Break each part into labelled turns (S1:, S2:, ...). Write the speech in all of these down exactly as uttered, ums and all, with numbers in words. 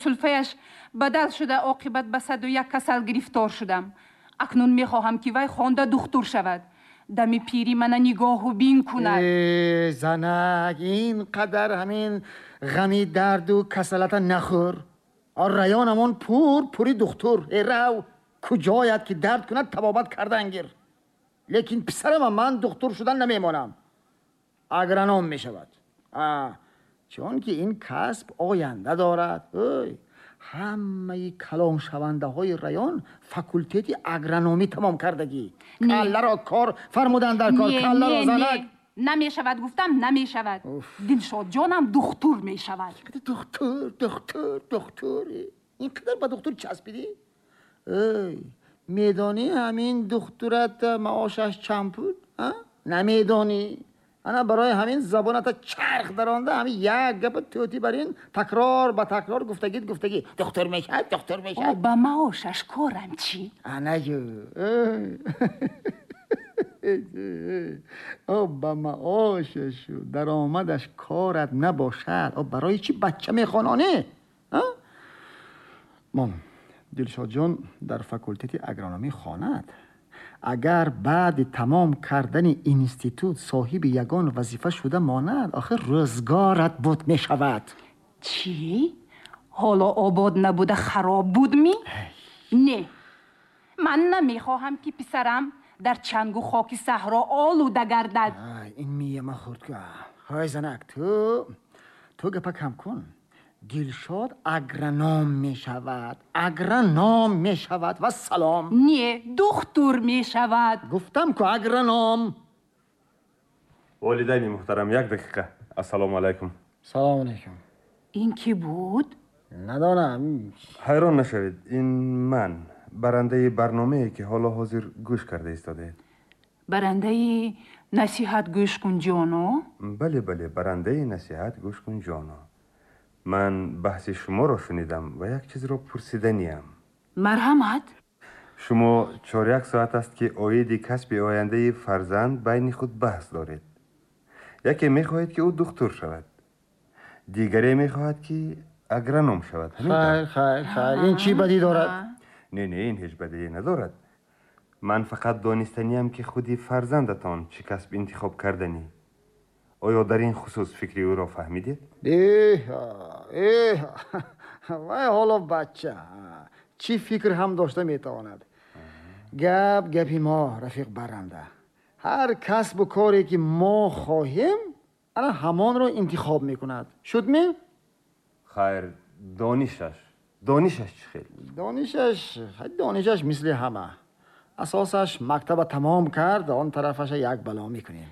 S1: Сулфаяш бадал шуда, оқибат ба саду як касал гирифтор шудам. Акнун мехоҳам, ки вай хонда духтур шавад, дами пирӣ мана нигоҳу бин кунад.
S2: Э, занак, ин қадар ҳамин ғами дарду касалата нахӯр. Районамон пур пури духтур. Э, рав, куҷояд ки дард кунад, табобат кардан гир. Лекин писарама ман духтур шудан намемонам, агроном мешавад, чунки ин касб оянда дорад. Ой, ҳамаи калоншавандаҳои район факултети агрономӣ тамом кардагӣ. Калларо кор фармуданд дар кор, калларо, занак.
S1: Намешавад, гуфтам, намешавад. Дилшодҷонам духтур мешавад.
S2: Духтур, духтур, духтур, ин қадар ба духтур часпидӣ? Эй, медонӣ, ҳамин духтурат маошаш чанд пул? Намедонӣ. Ана барои ҳамин забоната чарх даронда, ҳамин як гапа тӯтӣ бар ин такрор ба такрор гуфтагит, гуфтагӣ: духтур мешавад, духтур мешавад.
S1: Ба маошаш корам чӣ?
S2: Анаю, ба маошашу даромадаш корат набошад, барои чӣ бача мехононӣ? Мон, Дилшодҷон дар факултети агрономӣ хонад. Агар баъди тамом кардани институт соҳиби ягон вазифа шуда монад, охир рӯзгорат буд мешавад.
S1: Чӣ, ҳоло обод набуда, хароб буд ми? Не, ман намехоҳам, ки писарам дар чангу хоки саҳро олуда гардад.
S2: Ин мияма хурд ку. Ҳой, занак, ту ту гапа кам кун. Дилшод агроном мешавад, агроном мешавад, вассалом.
S1: Не, духтур мешавад.
S2: Гуфтам ку, агроном.
S3: Волидайни муҳтарам, як дақиқа. Ассалому алайкум.
S2: Салому алайкум.
S1: Ин кӣ буд?
S2: Надонам.
S3: Ҳайрон нашавед, ин ман, барандаи барномае, ки ҳоло ҳозир гӯш карда истодаед.
S1: Барандаи «Насиҳат гӯш кун, ҷоно»?
S3: Бале, бале, барандаи «Насиҳат гӯш кун, ҷоно». Ман баҳси шуморо шунидам ва як чизро пурсиданиям.
S1: Марҳамат.
S3: Шумо чоряк соат аст, ки оиди касби ояндаи фарзанд байни худ баҳс доред. Яке мехоҳед, ки ӯ духтур шавад, дигаре мехоҳад, ки агроном шавад.
S2: Хайр, хайр, хайр, ин чӣ бадӣ дорад?
S3: Не, не, ин ҳеҷ бадие надорад. Ман фақат донистаниям, ки худи фарзандатон чӣ касб интихоб карданӣ. Оё дар ин хусус фикри ӯро фаҳмидед?
S2: Эҳ, эҳ, вай ҳоло бача, чӣ фикр ҳам дошта метавонад? Гап гапи мо, рафиқ баранда, ҳар касбу коре ки мо хоҳем, ана ҳамонро интихоб мекунад. Шудме?
S3: Хайр, донишаш донишаш чӣ хел?
S2: Донишаш, донишаш мисли ҳама. Асосаш мактаба тамом кард, он тарафаша як бало мекунем.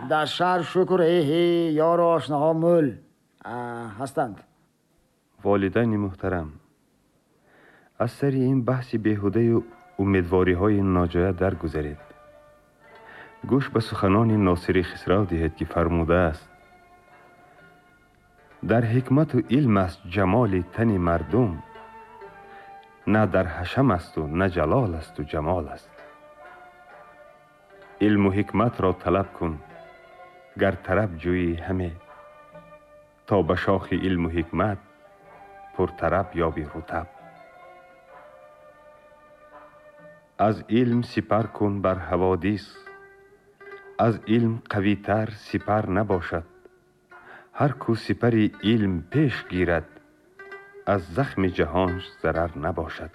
S2: Дар шаҳр, шукр, эҳе, ёру ошноҳо мӯл ҳастанд.
S3: Волидайни муҳтарам, аз сари ин баҳси беҳудаю умедвориҳои ноҷоя даргузаред. Гӯш ба суханони Носири Хисрав диҳед, ки фармудааст: «Дар ҳикмату илм аст ҷамоли тани мардум, на дар ҳашам асту на ҷалол асту ҷамол аст». Илму ҳикматро талаб кун, гар тараб ҷӯӣ ҳаме, то ба шохи илму ҳикмат пуртараб ёби рутаб. Аз илм сипар кун бар ҳаводис, аз илм қавитар сипар набошад. Ҳар кӯ сипари илм пеш гирад, аз захми ҷаҳонш зарар набошад.